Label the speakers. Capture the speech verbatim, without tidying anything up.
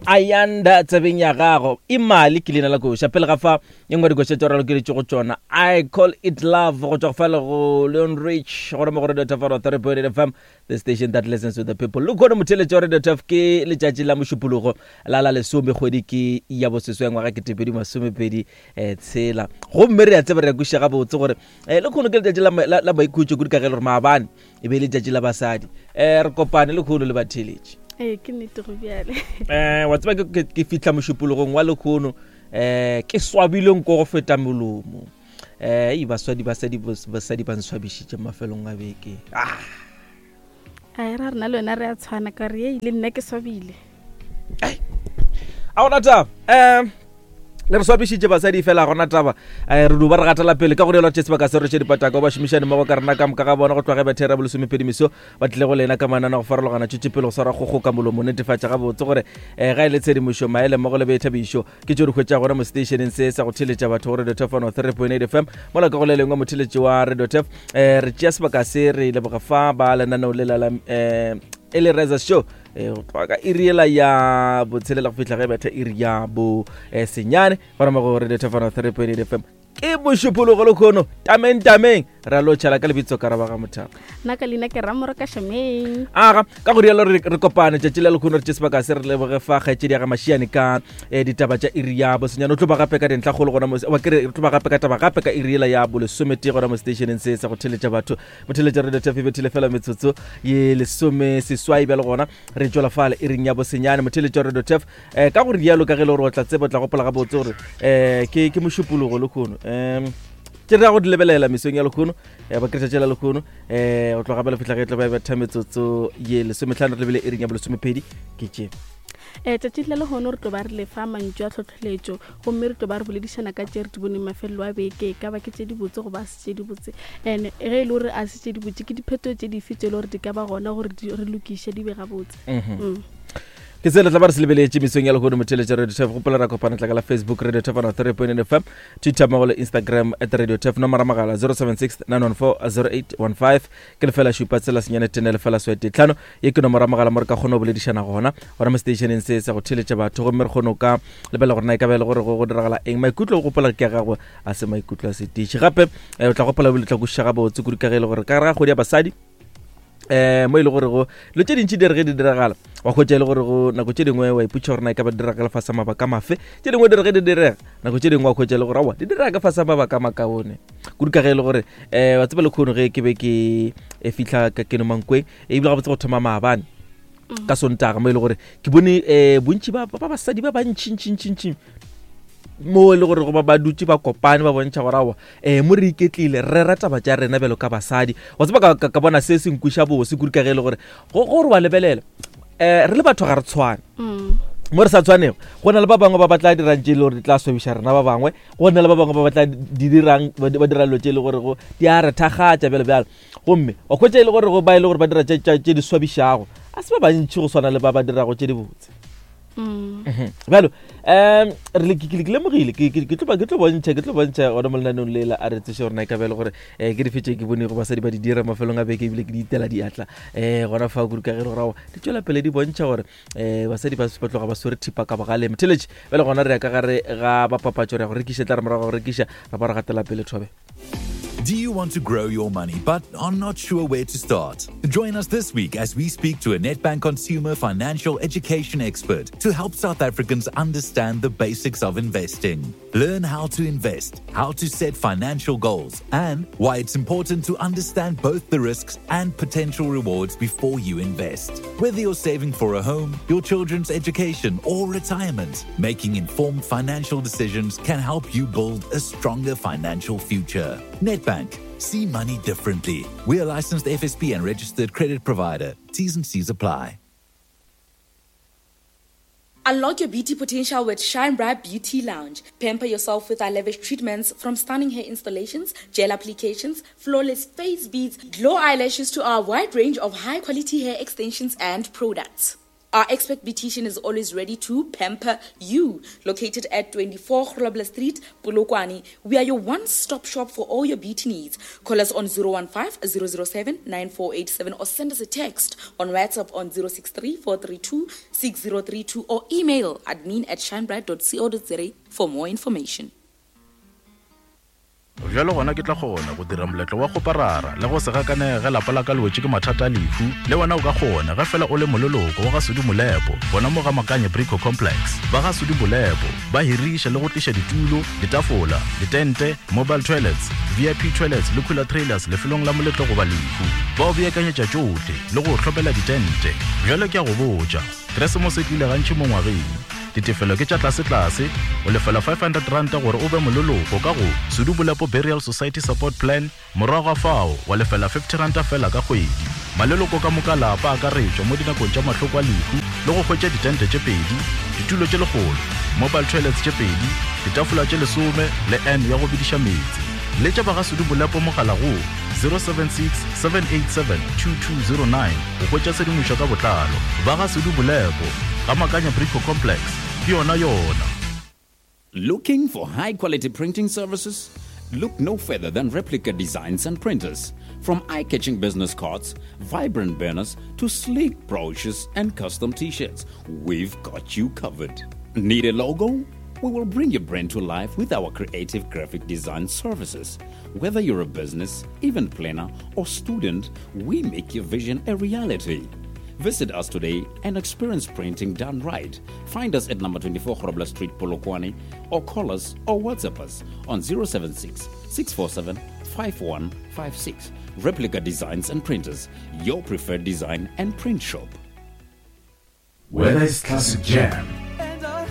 Speaker 1: Ayanda tsebeng ya gago imali ke leina la koša pele ga fa ye nngwe dikoša tšeo re lokeletše go tšona I call it love go tšwa go fela go Leon Rich gona mo go Radio Tafaro three point eight F M, the station that listens to the people. Le khone motheletše wa Radio Taf, ke letšatši la Mošupologo la la lesome, kgwedi ke ya boseswe, ngwaga ke tepedi masomepedi um tshela. Gomme re a tseba, re a kwešiša gabotse gore um le kgono ke letšatši la, la, la maikhutšo kudu, ka ge e le gore maabane e be e letšatši la basadi. um re kopane le kgono le batheletši.
Speaker 2: Ee, ke nnete, go bjale.
Speaker 1: um wa tseba, ke- ke ke fihla mošupologong wa lekgono um ke swabile nko go feta molomo. um e baswadi basadi basadi ba nswabišitše mafelong a beke ah.
Speaker 2: A e ra rena le wena re a tshwana, ka re ei, le nna ke swabile.
Speaker 1: A gona taba, um le re swabišitše basadi, fela gona taba. um re duba re gatela pele ka go rialo tše sebaka se re tše dipataka ba šomišane mmogo ka rena ka moka ga bona go tloga ge bethera bolesomepedi meso ba tlile go lena ka manana go farologana. Tšwetše pele go swara kgogo ka molomo, netefatša gabotse gore um ga e le tshedimošo, maele mmogo le boithabišo ke tšeo di hwetša gona mo stationeng se sa go theletša batho go Radio Tefano three point eight F M. Mola ka go le lengwe, motheletši wa Radio Tef, um re tšea sebaka se re leboga fa ba lenaneo le la la um e le Reza Show eh, go tloga ka iri ela ya botshelela go fihla ge betha iri ya bo eh, senyane gona mo go Radio Tefano three point eight F M. Ke mošupologo le kgono, tameng tameng re a lo tšhala ka lebitso ka raba ga mothapa.
Speaker 2: Nna ka leina ke Ramoro ka Shameng.
Speaker 1: Aga ka go rialo re re kopane tšatši la lekgono, re tše sebaka se re leboge fa kgaetšedi ya ga Mašiane ka eh, ditaba tša iri ya bosenyane. O tlo ba gape ka dintlhakgolo gona mo, wa ke re re tlo ba gape ka taba gape ka iri ela ya bolesometee gona mo stationeng se sa go theletša batho. Botheletša Radio Tf bethile fela metsotso ye lesome seswai bjale, gona re tšwela fale iring ya bosenyane, motheletša Radio Tf. um ka go rialo, ka ge e le gore o tla tseba, o tla gopola gabotse gore um ke ke mošupologo lekgono, um tše re ya go di lebelela mesong ya lekgono, um ba kretša tšela lekgono um go tloga bjale fihla ge e tlo ba betha metsotso ye lesometlhano re lebele iring ya bolesomepedi ke tše.
Speaker 2: um tšatši la lehono re tlo ba re lefa mantšu a tlhotlheletšo, gomme re tlo ba re boledišana ka tše re di boneng mafelelo a beke, e ka ba ke tše dibotse goba a se tše dibotse, and ge e le gore a se tše dibotse, ke dipheto tše dife tše e le gore di ka ba gona gore di- re lokiše di be gabotse Mm.
Speaker 1: Ke se le tla ba re se lebeletše mesong ya lehono, motheletša Radio Tef. Gopola ra kopana tla ka la Facebook Radio Tef three point F M, Twitter mmogo le Instagram at Radio Tef. Nomora mogala zero seven six nine one four zero eight one five, ke lefela šupa tsela senyane tene lefela swete tlhano. Ye ke nomora mogala mo re ka kgona go boledišana gona gona mo stationeng se sa go theletša batho, gomme re kgone go ka lebelela gore na e ka ba e le gore go go diragala eng. Maikutlo, o gopola ke a gagwe, a se maikutlo a setiši. Gape eh, o tla gopola ebile o tla kwešiša gabotse kudu ka ge e le gore ka gare ga kgwedi ya basadi, um mo e le gore go dilo tše dintši di re ge di diragala, wa hwetša e le gore go nako tše dingwe wa ipotša gore na e ka ba di direga ka lefase mabaka mafe. Tše dingwe di re ge di direga, nako tše dingwe wa hwetša e le gore aowa, di direga ka fase mabaka a makaone kudu, ka ge e le gore um wa tseba lekgono ge ke be ke e fihla ka keno Mankweng, ebile gabotse go thoma maabane ka Sontaga, mo e le gore ke bone um bontši ba ba basadi ba bantšintšintšintši mo e le gore go ba ba dutse ba kopane, ba bontšha gore aowa, um mo re iketlile, re rera taba tša rena bjalo ka basadi. Wa tseba, ka- ka ka bona se se nkweša bose kudu, ka ge e le gore go gore wa lebelela, um re le batho ga re tshwane.
Speaker 2: Mm.
Speaker 1: Mo re sa tshwanego, go na le ba bangwe ba ba tla dirang tše e le gore di tla swabiša rena ba bangwe, go na le ba bangwe ba ba tla di dirang, ba ba dira dilo tše e le gore go di a re thakgatša bjalo bjalo. Gomme wa hwetša e le gore go ba e le gore ba dira tše tše- tše di swabišago a se ba bantši go swana le ba ba dirago tše dibotse.
Speaker 2: Mm.
Speaker 1: Mhm. Bjalo um re le- ke ke- ke lemogile, ke ke- ke tlo ba- ke tlo bontšha ke tlo bontšha gona mo lenaneong lela a re tseše gore na e ka ba e le gore um ke dife tše ke bonego basadi ba di dira mafelong a beke, ebile ke di itela diatla um gona fa kudu, ka ge e le gore aowa, di tšwela pele di bontšha gore um basadi ba ba tloga ba swere thipa ka bogaleng. Theletše bjale gona re ya ka gare ga bapapatšo, re ya go rekiša, tla re morago ga go rekiša ra ba re gatela pele thobe.
Speaker 3: Do you want to grow your money but are not sure where to start? Join us this week as we speak to a Nedbank consumer financial education expert to help South Africans understand the basics of investing. Learn how to invest, how to set financial goals, and why it's important to understand both the risks and potential rewards before you invest. Whether you're saving for a home, your children's education, or retirement, making informed financial decisions can help you build a stronger financial future. Nedbank. See money differently. We are licensed F S P and registered credit provider. T's and C's apply.
Speaker 4: Unlock your beauty potential with Shine Bright Beauty Lounge. Pamper yourself with our lavish treatments, from stunning hair installations, gel applications, flawless face beads, glow eyelashes to our wide range of high quality hair extensions and products. Our expert beautician is always ready to pamper you. Located at twenty-four Grobler Street, Polokwane, we are your one-stop shop for all your beauty needs. Call us on zero one five, zero zero seven, nine four eight seven or send us a text on WhatsApp on zero six three, four three two, six zero three two or email admin at shinebright dot co dot za for more information.
Speaker 5: Bjalo gona ke tla kgona go dira moletlo wa kgoparara le go se gakanege ge lapa la ka le wetše ke mathata a lehu. Le wena o ka kgona ge fela o le moleloko wa ga Sudi Molepo, gona mo ga Makanye Brico Complex. Ba ga Sudi Molepo ba hiriša le go tliša ditulo, ditafola, ditente, mobile toilets, V I P toilets le cooler trailers lefelong la moletlo goba lehu. Ba o beakanyetša tšohle le go hlopela ditente. Bjalo ke a go botša, Keresemose e tlile gantši mo ngwageng. Ditefelo ke tša tlase-tlase, o lefela five hundred ranta gore o be moleloko ka go Sudi Molepo Burial Society Support Plan, morago ga fao wa lefela fifty ranta fela ka kgwedi. Maleloko ka moka lapa a akaretšwa mo dinakong tša mahloko a lehu le go hwetša ditente tše pedi, ditulo tše lekgolo, mobile toilets tše pedi, ditafola tše lesome le N ya go bediša meetse. Letša ba ga Sudi Molepo mogala go zero seven six, seven eight seven, two two zero nine go hwetša tshedimošo ka botlalo. Ba ga Sudi Molepo, ga Makanya Brico Complex, ke yona yona.
Speaker 6: Looking for high-quality printing services? Look no further than Replica Designs and Printers. From eye-catching business cards, vibrant banners, to sleek brochures and custom t-shirts, we've got you covered. Need a logo? We will bring your brand to life with our creative graphic design services. Whether you're a business, event planner, or student, we make your vision a reality. Visit us today and experience printing done right. Find us at number twenty-four Grobler Street, Polokwane, or call us or WhatsApp us on zero seven six, six four seven, five one five six. Replica Designs and Printers, your preferred design and print shop.
Speaker 7: Whether it's classic jam,